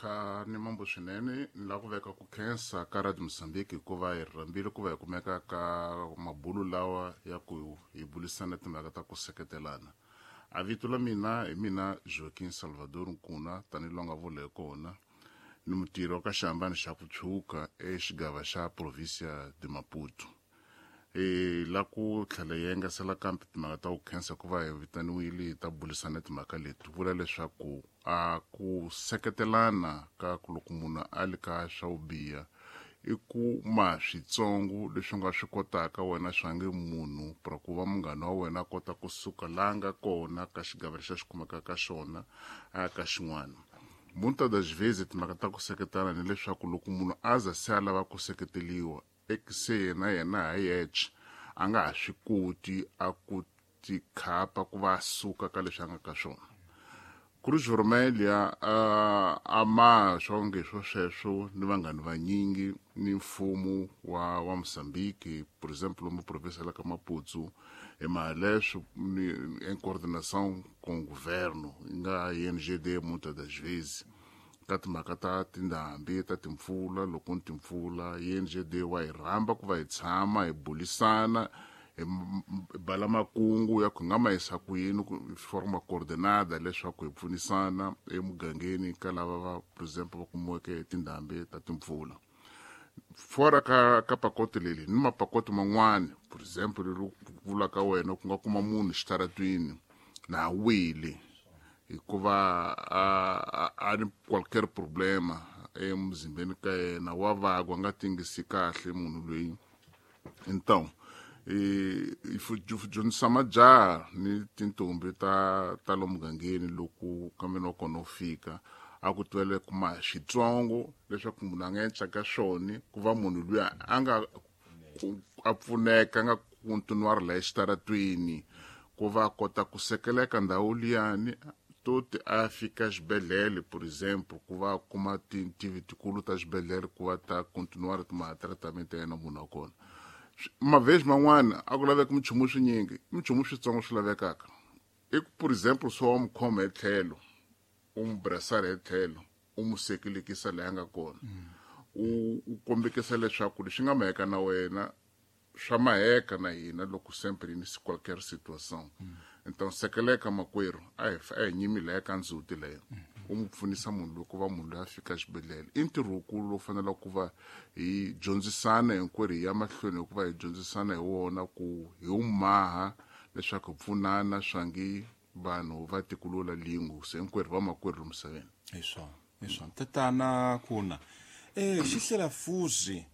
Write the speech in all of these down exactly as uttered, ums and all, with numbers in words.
Kha ni mambo swinene ni lava ku veka ku khensa ka Radio Mozambique hikuva hi rhambile ku va hi kumeka ka mabulu lawa ya ku hi bulisana timhaka ta ku seketelana. A vito la mina hi mina Joaquim Salvador Nkuna, tanihi lowu nga vula hi kona, ni mutirhi wa ka xihambano xa ku tshuka exigava xa provincia de Maputo. E la ku tlhela yi engesela kambe timhaka ta ku khensa ku va hi vitaniwile hi ta bulisana timhaka leti, vula leswaku a ku seketelana ka ku loko munhu a li ka swa ku biha i ku ma switsongo leswi nga swi kotaka wena swa nge munhu pra ku va munghana wa wena a kota kusuka laha nga kona ka xigava lexi a xi kumeka ka xona a ya ka xin'wana. Muitas das vezes timhaka ta ku seketela ni leswaku loko munhu a za se a lava ku seketeliwa se yena yena ha yexe a nga ha swi koti a ku tikhapa ku va a suka ka leswi a nga ka swona. Cruz Vermelha a a ma swonge swo sweswo ni vanghani vanyingi ni mfumo wa wa Mozambique, por exemplo lomu província la ka Maputo, hi mhaka leswo ni em coordenação com o governo yi nga I N G D muitas das vezes ka timhaka ta tindhambi ta timpfula, loko ni timpfula I N G D wa hi rhamba ku va hi tshama hi bulisana hi bala makungu ya ku nga ma yisa ku yini ku forma coordenada leswaku hi pfunisana emugangeni ka lava va, por exemple, va kumiweke tindhambi ta timpfula. Fora ka ka pakote leli ni mapakote man'wani, por exemple leri vulaka wena ku nga kuma munhu xitaratwini na wile hikuva a, a, a ni qualquer problema emuzimbeni ka yena, wa vagwa nga tingisi kahle munhu loyi. Então e dyondzisa majaha ni tintombi ta ta lomu mugangeni loko kambe wa kona u fika a ku twele kuma xitsongo leswaku munhu a nga endla ka swona ku va munhu luya a nga a pfuneka a nga continuar la exitaratwini ku va kota ku sekeleka ndhawu liyani toti a fika xibedhlele, por exemple, ku va kuma tintivi tikulu ta xibedhlele ku va ta continuar ma tratament ya yena munhu wa kona. Mavezi man'wana a ku laveki minchumu swinyingi, minchumu switsongo swi lavekaka. I ku, por exemple, swo wa mukhoma hi tlhelo, u n'wi brasara hi tlhelo, u n'wi sekelekisa laha nga kona. U, u kombekisa leswaku leswi nga maheka na wena swa maheka na hina loko sempre ni qualquer situação. Então sekeleka makwerhu, a hi a hi nyimi laha ka ndzhuti leyo. U n'wi pfunisa munhu loko va munhu loyi a fika xibedhlele. I ntirho wukulu lowu faneleke ku va hi dyondzisana hinkwerhu hi ya mahlweni hikuva hi dyondzisana hi wona ku hi wu maha leswaku hi pfunana swangi vanhu va tikulula lingu se hinkwerhu vamakwerhu lomu misaveni. Hi swona, hi swona. Tatana Kuna, eh xihlela fuzi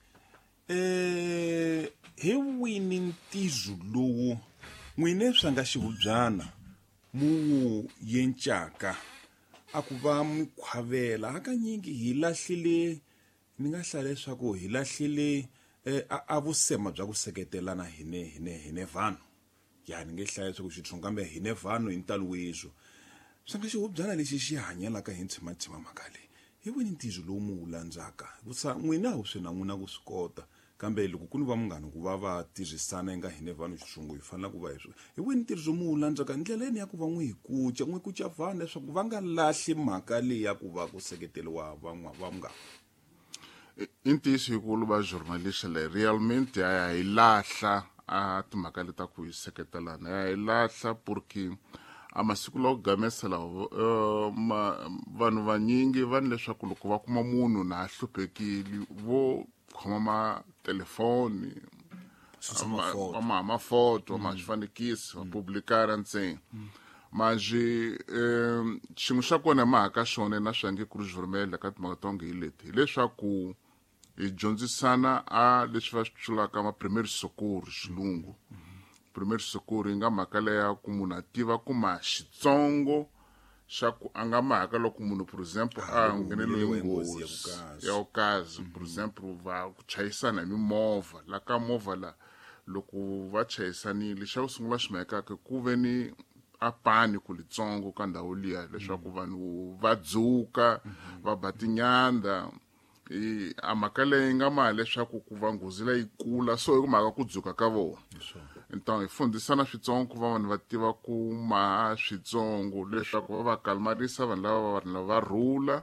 eh hi wini ntizo lowu n'wine swa nga xihubyana mu yencaka a ku va mikhwavela? Hakanyingi hi lahlile, ni nga hlaya leswaku hi lahlile eh, a, a vusema bya ku seketelana hine hine hine vanhu. Ya ni nge hlaya leswaku xitshungu kambe hine vanhu hi ntalo weswo. Swa nga xihubyana lexi xi hanyelaka hi ntshima-ntshima mhaka leyi. Hi wini ntizo lowu mu wu landzaka? Hikusa n'wina wu swi na n'wina ku swi kota, kambe loko ku ni va munghana ku va va tirhisana nga hine vanhu xitshungu hi fanele ku va hi swi. Hi wini ntirhiso mu wu landzaka ndlela yini ya ku va n'wi hi kuca, n'wi kuca vanhu leswaku va nga lahli mhaka leyi ya ku va ku seketeriwa van'wa va munghana? I ntiyiso hikulu va journalist leyi realmente a hi lahla a timhaka leti ta ku hi seketelana, ya hi lahla porque a masiku lawa ku gamesa lawa, uh, ma, vanhu vanyingi va ni leswaku loko va kuma munhu na a hluphekile vo khoma ma telefoni, Susa ma, mafoto. ma, mafoto, ma swifanekisi, va publikara ntsena. Manjhe, eh, xin'we xa kona mhaka xona na swa nge Cruz Vermelha ka timhaka ta onge hi leti, hileswaku hi dyondzisana a leswi va swi tlulaka ma primeiro socorro xilungu. Primeiro socorro yi nga mhaka leya ku munhu a tiva ku ma xitsongo xa ku a nga mhaka loko munhu, por exemple, a Ah, ngheneliwe hi nghozi ya nghozi vukazi. ya vukazi, por exemple, va ku chayisana hi mimovha, la ka movha la loko va chayisanile xa ku sungula xi mahekaka ku ve ni a paniku litsongo ka ndhawu liya leswaku vanhu va dzuka, va ba tinyanda. I a mhaka leyi nga ma leswaku ku va nghozi leyi kula so hi ku mhaka ku dzuka ka vona. Então hi fundisana switsongo ku va vanhu va tiva ku maha switsongo leswaku va va kalmarisa vanhu lava va vanhu lava va rhula.